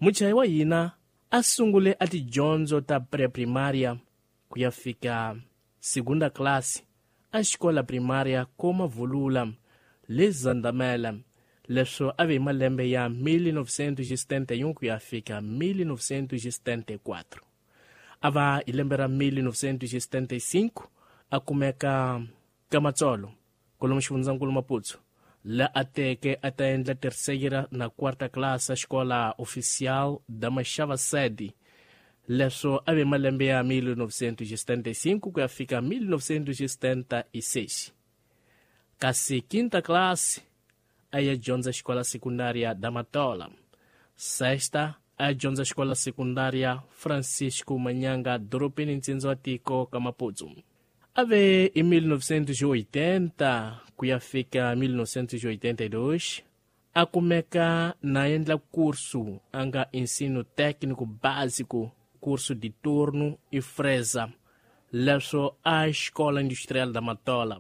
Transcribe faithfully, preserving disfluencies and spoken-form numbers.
Muchayi wa hina a sungule a tidyondzo ta pré-primária ku ya fika segunda classe a xikola primária koma vulula le Zandamela, leswo a ve hi malembe ya mil novecentos e setenta e um ku ya fika mil novecentos e setenta e quatro. A va hi lembe ra mil novecentos e setenta e cinco a kumeka ka Matsolo kolomo xifundzankulu Maputo, la a teke a ta endla terceira na quarta classe a xikola oficial da Machava Sede, leswo a ve malembe ya mil novecentos e setenta e cinco ku ya fika mil novecentos e setenta e seis. Kasi quinta classe a ya dyondza xikola secundária da Matola. Sexta a ya dyondza xikola secundária Francisco Manyanga dorobeni ntsindza wa tiko ka Maputo. A ve hi mil novecentos e oitenta ku ya fika mil novecentos e oitenta e dois a kumeka na endla curso a nga ensino técnico básico, curso de torno e fresa, leswo a Escola Industrial da Matola.